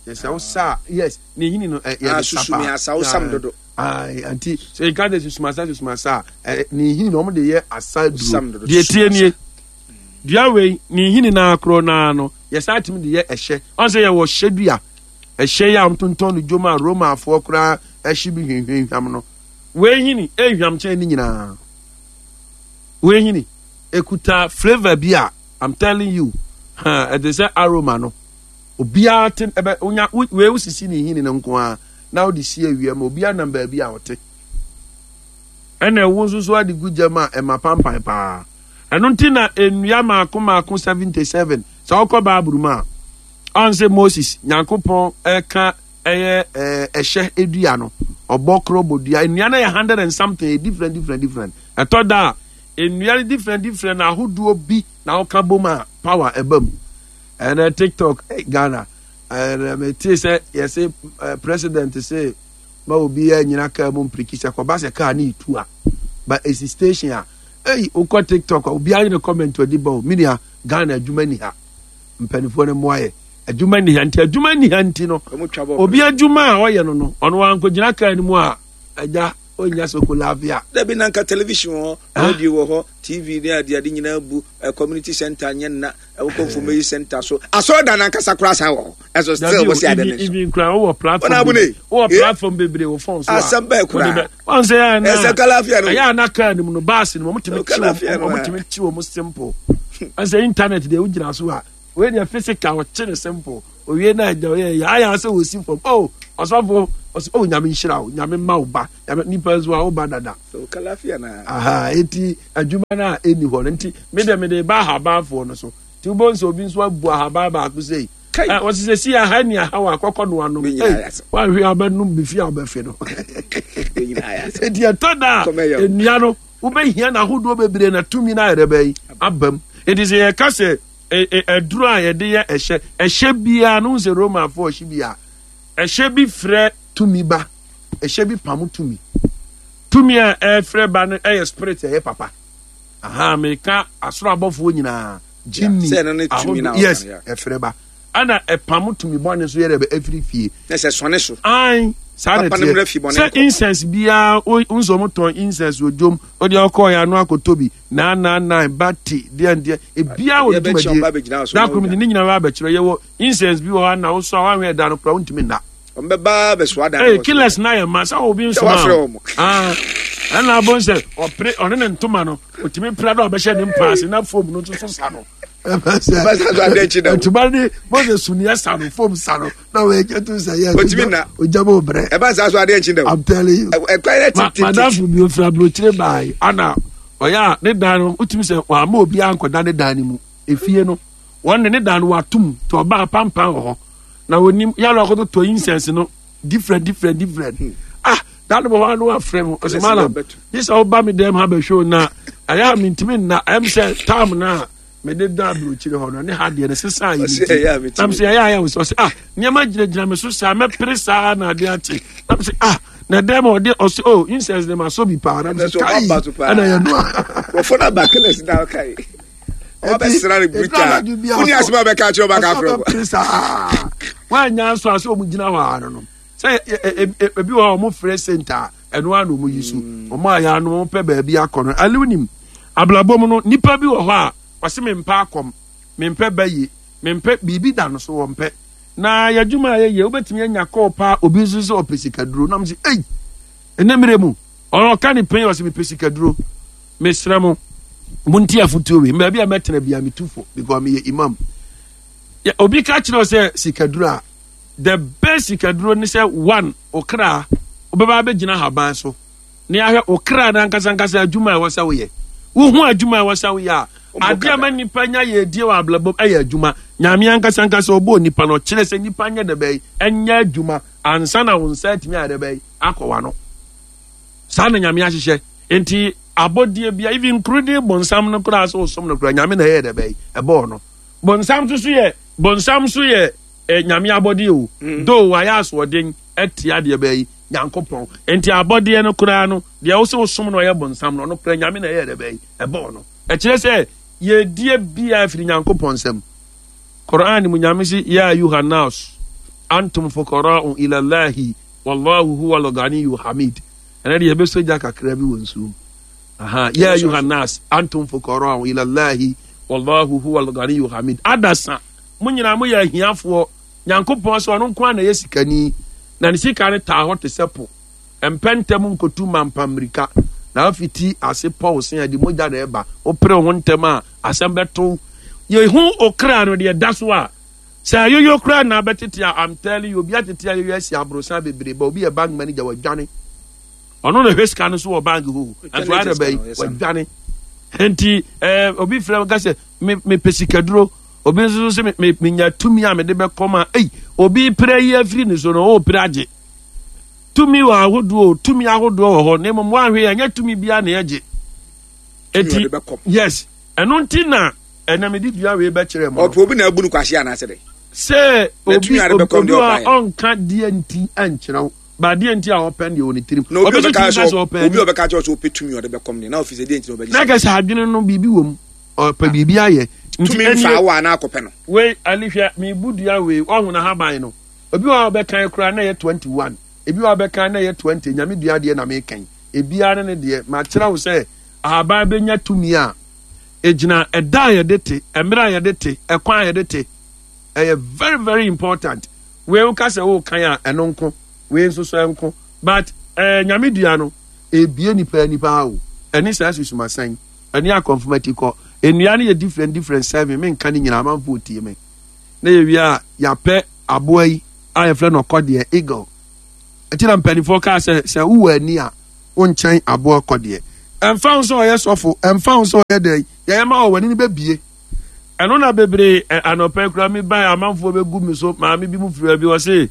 yɛ sɛ wosa yes ne nhini no yɛ de sa paa asa wosam dodo Ae, anti sɛ yɛka sɛ susumasa susumasa a, ɛ ne nhini na wɔn de yɛ asa duro. Deɛ tie nie, dua wei ne nhini naa korɔ naa no yɛsan tumi de yɛ ɛhyɛ. Ɔn sɛ yɛwɔ hyɛ dua, ɛhyɛ yi a wɔtontɔn no dwom a Romafoɔ koraa ɛhye bi hwehwehwam no. Wei nhini ehwam kyɛn ne nyinaa. Wei nhini ekuta flavour bi a I'm telling you, ɛte sɛ aroma no. Obiara te ɛbɛ onya wei wosisi ne nhini no nko ara. na wode si awia ma obiara nam baabi a ɔte. Ɛna ɛwo nso so ade gu gyam a ɛma pampan paa. Ɛno nti na nnua mmaako mmaako 77 sɛ wokɔ Bible mu a, ɔn sɛ Moses, Nyankopɔn ɛka ɛyɛ ɛhyɛ dua no, ɔbɔ korɔ bɔ dua. Nnua no yɛ hundred and something, different different different. Ɛtɔ da a, nnua no different different ahodoɔ bi na woka bom a power ɛba mu. Ɛnɛ TikTok, eh, Ghana, ɛnɛ metee sɛ yɛse president se ma obiara nyina kaa mu mpiriki sɛ kɔba sɛ kaa ne etu a ba esi station a ei wokɔ tiktok a obiara ne comment ɔde ba o menua Ghana adwuma ni ha mpanimfoɔ no mmoa yɛ adwuma ni ha nti adwuma ni ha nti no obi adwuma a ɔyɛ no no ɔno ankɔgyina kaa no mu a agya ɔnya soko laafia. Dabi na nka television wɔ hɔ radio wɔ hɔ tv ne adeade nyinaa bu eh, community center nyɛ nna wokɔ mfomɛyi center so asɔredan no ankasa koraa san wɔ hɔ ɛso still wɔ sɛ ade ne so even kura wowɔ platform bebree wowɔ eh? platform bebree wɔ phone so a asɛm bɛɛ koraa wɔn sɛ yɛ na ɛsɛ kalafia no ɛyɛ ana kaa no mu no baasi no wɔn tumi kyi wɔn wɔn tumi kyi wɔn simple ɛsɛ internet deɛ wogyina so a wei deɛ physical ɔkye ne simple owie na ɛgya ɔyɛ yɛ ayɛ asɛ wɔsi fam oh ɔsɔfo ɔsɛ oh nyame nhyira wo nyame mma wo ba nyame nipa nso a wo ba dada aha eti adwuma no a ɛni hɔ no nti me deɛ mede ba ahabanfoɔ no so nti wobɛhu sɛ obi nso abu ahaban baako sei wɔsi sɛ si aha ni aha wɔ akɔkɔ no anom wahwe abɛnom bi fi a wobɛfe no eti ɛtɔ da a nnua no wobɛhia no ahodoɔ bebree na tumi no ayɛrɛ bɛyi abam eti sɛ yɛka sɛ aduro a yɛde yɛ ɛhyɛ ɛhyɛ biara no sɛ romanfoɔ ɔhye bi a ɛhyɛ bi frɛ tumi ba ɛhyɛ bi pam tumi tumi a ɛfrɛ ba no ɛyɛ spirit ɛyɛ papa aha meka asoro abɔfoɔ nyinaa gyimi ahodoɔ yes ɛfrɛ ba ɛna ɛpam tumi bɔne so yɛrɛ bɛ ɛfiri fie na sɛ sɔne so ae saa na teɛ sɛ incense biara nso ɔmo tɔn incense wɔ dwom ɔde ɔkɔɔ yɛ ano akɔtɔ bi 999 bati deɛ deɛ ebiara wɔ ne dwumadie da koro mi de ne nyinaa ba abɛkyerɛ yɛwɔ incense bi wɔ hɔ na wosɔ a wanhwɛ ɛda no kora wontumi nna ɔmbɛba bɛsoa dan ee killers na yɛ ma sɛ obi nsoma o ah ɛna abɔ nsɛ ɔpere ɔne ne ntoma no otumi pira dɛ ɔbɛhyɛ ne mpaase na fom no nso so sa no ntoma ne bɔsɛ suniɛ sa no fom sa no na wɔyɛ kyɛ to sɛ yɛ otumi na ogya bɛ brɛ ɛba saa so adeɛ nkyi dɛ I'm telling you ɛkwan yɛ tete madamfo bi ofura aburokyire baayi ana ɔyɛ a ne dan no wotumi sɛ wɔama obi ankɔda ne dan no mu efie no wɔn de ne dan no watom te ɔbaa pampan wɔ hɔ na onim yàrá ɔkɔtɔ tɔ incense no different different different hmm. ah dan bɔ hɔ ano afrɛ mu ɔsɛ malam yi sɛ ɔba mi dɛm ha bɛhwɛ o na ɛyɛ a mi ntumi nna ɛm sɛ tam na mede da aburokyire hɔ no ne ha deɛ no sesa yi mi ti nam sɛ ɛyɛ ayɛ wɔ sɛ ɔsɛ ah nneɛma gyinagyina mi so saa mɛpere saa na adeɛ akye nam sɛ ah na dɛm a ɔde ɔsɛ oh incense de ma so bi paa nam sɛ kai ɛna yɛ noa. wɔfɔ na ba killers na ɔka yi. ɔbɛsra no brutal woni asɛm a bɛka akyerɛ ɔbɛka afrɛ wo saa woanya nso a sɛ ɔmu gyina hɔ a no no sɛ ebi wɔ hɔ ɔmo frɛ senta ɛno a na ɔmo yi so mm. ɔmo ayɛ ano ɔmo pɛ baabi akɔ no ɛne wonim abrabɔ mu no nipa bi wɔ hɔ a ɔse mempɛ akɔm mempɛ bɛye mempɛ biribi da no so wɔmpɛ na yɛadwuma a yɛyɛ wobɛtumi anya kɔɔ paa obi nso sɛ ɔpɛ sikaduro nam sɛ ei ɛnɛ mmerɛ mu ɔka ne pɛn ɔsɛ mepɛ sikaduro Mesrɛ mo, montie afotuo wei. Baabi a mɛtena bia metu fo because meyɛ imam. Obi ka kyerɛ sɛ sikaduro a, the best sikaduro ne sɛ one, okra, wobɛba abɛgyina haban so na yɛahwɛ okra no ankasa ankasa adwuma a ɛwɔ sɛ woyɛ. Wohu adwuma a ɛwɔ sɛ woyɛ a, adeɛ a ma nipa nya yɛ adie wɔ abrabɔ ɛyɛ adwuma. Nyame ankasa ankasa ɔbɔɔ nipa no ɔkyerɛ sɛ nipa nyɛ dɛ bɛyi ɛnyɛ adwuma ansa na wo nsa atumi ayɛ dɛ bɛyi akɔ wano. Saa na Nyame ahyehyɛ. Nti abɔdeɛ bia even including bonsam no koraa sɛ ɔsom no koraa Nyame na ɛyɛ dɛ bɛyi ɛbɔɔ no. Bonsam nso so yɛ bonsam nso yɛ eh, Nyame abɔdeɛ o. Mm. Though wayɛ asoɔden atia deɛ bɛyi Nyankopɔn. Nti abɔdeɛ no koraa no deɛ wo sɛ wosom no ɔyɛ bonsam no ɔno koraa Nyame na ɛyɛ dɛ bɛyi ɛbɔɔ no. Ɛkyerɛ sɛ yɛdie bia firi Nyankopɔn nsam. Quran mu Nyame se ya ayuha nas antum fuqara'u ila Allahi Wallahu huwa al-ghaniyu hamid. Ɛnɛ deɛ yɛbɛsɔ gya kakra bi wɔ nsuo mu. Aha, ya ayuha nas antum fuqara'u ila Allahi wallahu huwa al-ghaniyu hamid. Adasa, mo nyinaa moyɛ ahiafoɔ. Nyankopɔn sɛ ɔno nko ara na ɛyɛ sikani, na ne sika no taa hɔ te sɛ po. Ɛmpɛ ntɛm nkotu mampa mmirika, na afiti ase pɔw se ɛde mogya na ɛba. Wopere wo ho ntɛm a, asɛm bɛto. Yɛhu okra no deɛ ɛda so a, Sɛ ayoyo koraa na abɛtete a I'm telling you obi atete ayoyo asi aborosan bebree ba obi yɛ bank manager wadwane. Ɔno na hwɛ sika no so wɔ bank hɔ. Nso ayɛ dɛ bɛyi wadwane. Nti ɛɛ obi frɛ ka sɛ me mepɛ sikaduro. Obi nso so sɛ me menya tumi a mede bɛkɔ ma. Ei obi pere yi afiri ne so no ɔpere agye. Tumi wɔ ahodoɔ tumi ahodoɔ wɔ hɔ na mmom woanhwɛ yɛ ɛnyɛ tumi biara na yɛgye. Eti yes ɛno nti na ɛna mede dua wei bɛkyerɛ mo. Ɔpɛ obi na abu no kwahye anaasɛ dɛ. Sɛ obi obi a ɔnka deɛ nti ɛnkyerɛ wo. Ba deɛ nti a ɔpɛ deɛ wɔ ne tirim. Na obi ɔbɛka sɛ obi ɔbɛka kyerɛ sɛ ɔpɛ tumi ɔde bɛkɔm deɛ na ɔfi sɛ deɛ nti na ɔbɛgye. Na kɛsɛ adwene no biribi wɔ mu ɔpɛ biribi ayɛ. Tumi nfa awɔ anaa akɔpɛ no. Wei ani hwɛ mebu dua wei ɔho na haban no obi wɔ a ɔbɛkan koraa na ɛyɛ 21 ebi wɔ a ɔbɛkan na ɛyɛ 20 nyame dua deɛ na mekan ebiara ne ne deɛ makyerɛ wo sɛ ahaban bɛnya tumi a egyina ɛda a yɛde te mmerɛ a yɛde te ɛkwan a yɛde te ɛyɛ very very important Wei woka sɛ wokan a ɛno nko, wei nso so ɛnko. But eh, nyame dua no, ebie nipa ani paa o. Ɛne saa susumasɛn, ɛne akɔnfomati kɔ. Nnua no yɛ different different seven, menka ne nyinaa amanfoɔ tie me. Na yɛwie a, yɛapɛ aboa yi a yɛfrɛ no ɔkɔdeɛ, eagle. Ɛti na mpanimfoɔ kaa sɛ, sɛ wowɔ ani a, wonkyɛn aboa ɔkɔdeɛ. Ɛmfa ho sɛ ɔyɛ sɔfo, ɛmfa ho sɛ ɔyɛ dɛn, yɛyɛ ma wɔ w'ani no bɛbie. Ɛno na bebree ɛ anɔpa yi koraa me bae amanfoɔ bɛgu me so maame bi mu firi baabi ɔse ɛɛ.